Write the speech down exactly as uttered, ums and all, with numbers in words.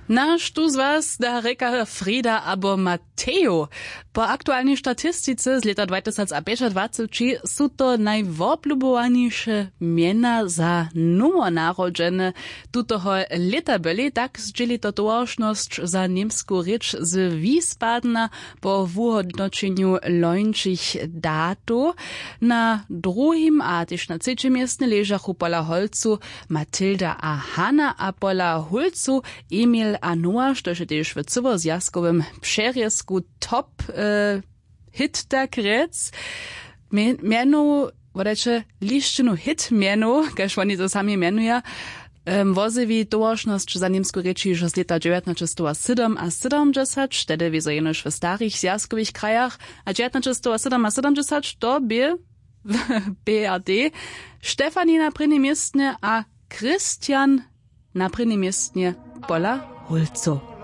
Na štó z was da rěka Frida abo Matejo? Po aktualnej statistice z lěta dwatysacpjećadwaceći su to najwoblubowaniše mjena za nowonarodźene tutoho lěta byli. Tak zdźěli to towaršnosć za němsku rěč z Wiesbadena po wuhódnoćenju lońšich datow. Na druhim a tež na třećim městnje ležachu pola Holcu Matilda a Hanna a pola Hólcu Emil a Noa, štož je tež w cyłozwjazkowym přerězku top, hit tak rjec. Mjenow, wodajće, lisćinu hit mjenow, kaž woni to sami mjenuja, wozjewi towaršnosć za němsku rěč hižo z lěta dźewjatnaćestowasydomasydomdźesać, tehdy wězo jenož w starich zwjazkowych krajach. A dźewjatnaćestowasydomasydomdźesać to bě w B R D Štefani na prěnim městnje a Christian na prěnim městnje pola Hólcow.